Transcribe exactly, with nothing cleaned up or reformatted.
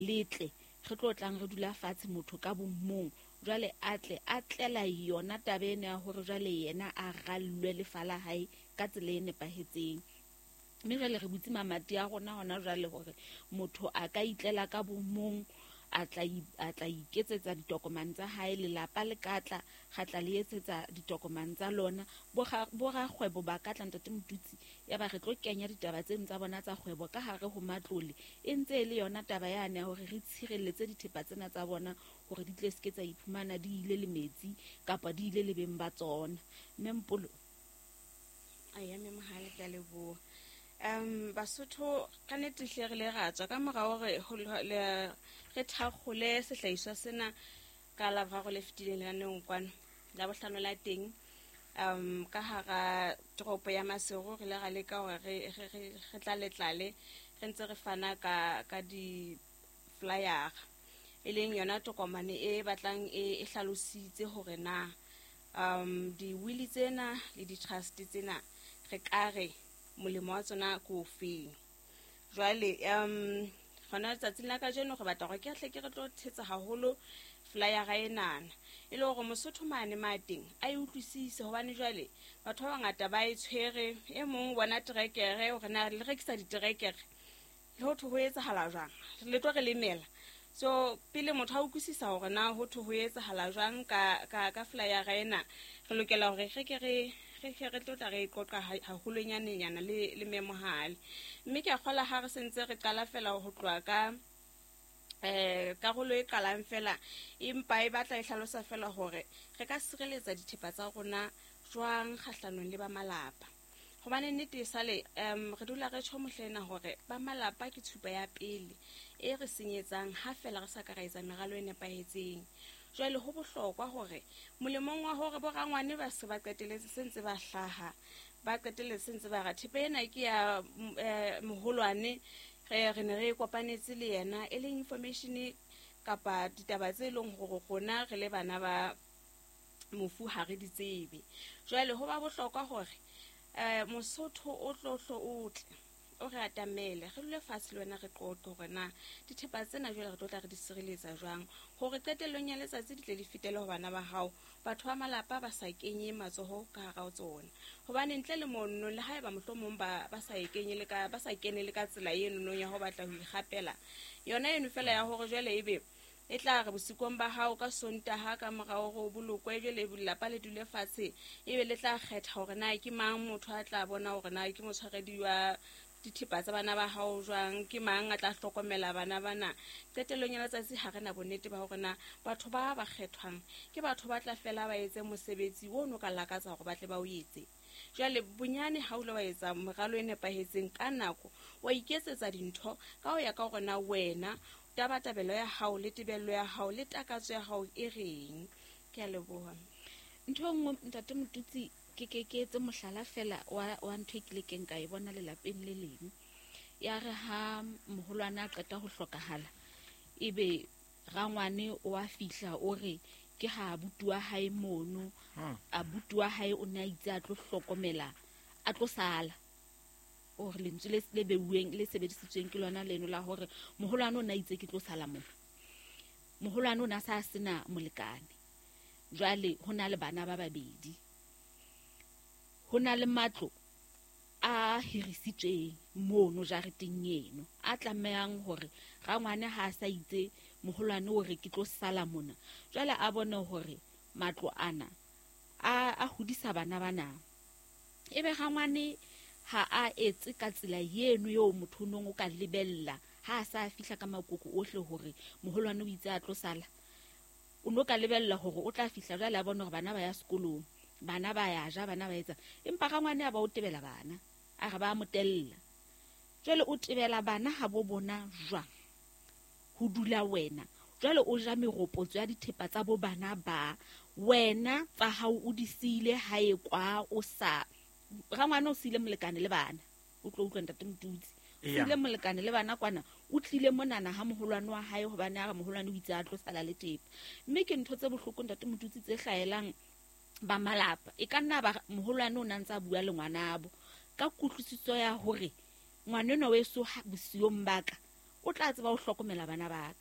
Le tle re tlo tlang re dula fatshe motho ka bomong, jwale a tle a tlela yona taba ena ya hore jwale yena a rallwe lefa la hae ka tsela e nepahetseng. Mme jwale re butse mamati a rona hona jwale hore motho a ka itlela ka bomong, a tla a tla iketsetsa ditokomane tsa hae, lelapa le ka tla ga tla le etsetsa ditokomane tsa lona, bo rakgwebo ba ka tla Ntate Motutsi, ya ba re tlo kenya ditaba tseno tsa bona tsa kgwebo ka hare ho matlole. E ntse e le yona taba yane ya hore re tshireletse dithepa tsena tsa bona hore di tle seke tsa iphumana di ile le metsi kapa di ile le beng ba tsona. Mme Mpolo. Aya mme Mohale, ke a leboha. Um Basotho ka nnete hle re le ra tswa ka mora hore re thakgole sehlahiswa sena ka Laboraro le fetileng lenaneong kwano la bohlano la teng, um ka hara toropo ya Maseru re le ra leka hore re re tlale tlale re ntse re fana ka ka di-flyer, e leng yona tokomane e batlang e hlalositse hore na um di-will tsena le di-trust tsena re ka re molemo wa tsona ke ofeng. Jwale um hona letsatsing la kajeno re batla hore ke hle ke re tlo thetsa haholo flyera enana, e le hore Mosotho mane ma teng a e utlwisise, hobane jwale batho ba bangata ba e tshwere. E mong bona terekere hore na le rekisa diterekere le ho thwe ho etsahala jwang, le tlo re lemela. So pele motho a utlwisisa hore na ho thwe ho etsahala jwang ka ka ka flyera ena, re lokela hore re ke re re ke re tlo tla re qoqa haholonyanenyana le le Memohale. Mme ke a kgola ha re sentse re qala fela ho tloha ka eh karolo e qalang fela, empa e batla e hlalosa fela hore re ka sireletsa dithepa tsa rona jwang kgahlanong le ba malapa. Hobane nnete e sale um re dula re tjho mohlena hore ba malapa ke tshupa ya pele e re senyetsang ha fela re sa ka ra etsa meralo e nepahetseng. Jwale ho bohlokwa hore molemong wa hore bo rangwane ba se ba qeteletse se ntse ba hlaha, ba qeteletse se ntse ba ra thepa ena ke ya moholwane, re re ne re kopanetse le yena, e leng information kapa ditaba tse leng hore rona re le bana ba mofu ha re di tsebe. Jwale ho ba bohlokwa hore eh Mosotho o tlo hlo o tle o re atamele, re dule fatshe le wena re qoqe hore na dithepa tsena jwale re tlo tla re di sireletsa jwang hore qetellong ya letsatsi di tle di fetele ho bana ba hao, batho ba malapa ba sa kenye matsoho ka hara ho tsona. Hobane ntle le mono le haeba mohlomong ba ba sa e kenye le ka ba sa kene le ka tsela eno nong ya ho batla ho ikgapela yona eno fela ya hore jwale ebe e tla re bosikong ba hao ka Sontaha ka morao hore o bolokwe, jwale lelapa le dule fatshe ebe le tla kgetha hore na ke mang motho a tla bona hore na ke motshwaredi wa dithepa tsa bana ba hao jwang, ke mang a tla hlokomela bana bana. Qetellong ya letsatsi ha re na bonnete ba hore na batho ba ba kgethwang ke batho ba tla fela ba etse mosebetsi o no ka lakatsa hore ba tle ba o etse. Jwale bonyane ha o le wa etsa moralo e nepahetseng ka nako, wa iketsetsa dintho ka ho ya ka hore na wena tabatabelo ya hao le tebello ya hao le takatso ya hao e reng. Ke a leboha. Ntho e nngwe Ntate Motutsi, ke ke ke etse mohlala fela wa wa ntho e kile keng ka e bona lelapeng le leng. Ya re ha moholwane a qeta ho hlokahala, ebe rangwane o a fihla o re ke ha abuti wa hae mono, abuti wa hae o ne a itse a tlo hlokomela, a tlo sala. O re lentswe le le beuweng le sebedisitsweng ke lona leno la hore moholwane o ne a itse ke tlo sala mona. Moholwane o ne a sa sena molekane. Jwale ho na le bana ba babedi. Ho na le matlo a hirisitsweng mono jareteng eno a tlamehang hore rangwane ha a sa itse moholwane o re ke tlo sala mona. Jwale a bone hore matlo ana a a hodisa bana bana. Ebe rangwane ha a etse ka tsela eno eo motho nong o ka lebella ha a sa fihla ka makoko ohle hore moholwane o itse a tlo sala. O no ka lebella hore o tla fihla jwale a bone hore bana ba ya sekolong, bana ba ya ja, bana ba etsa. Empa rangwane a ba o tebela bana, a re ba motella. Jwale o tebela bana ha bo bona jwang ho dula wena. Jwale o ja meropotso ya dithepa tsa bo bana ba wena tsa hao o di siile hae kwa o sa rangwane o siile molekane le bana. O tlo utlwa Ntate Motutsi. Siile molekane le bana kwana, o tlile monana ha moholwane wa hae hobane a re moholwane o itse a tlo sala le thepa. Mme ke ntho tse bohloko Ntate Motutsi tse hlaelang ba malapa. E ka nna ba moholwane o na ntse a bua le ngwanabo ka kutlwisiso ya hore ngwanenwa weso bosiong ba ka O tla tseba ho hlokomela bana ba ka.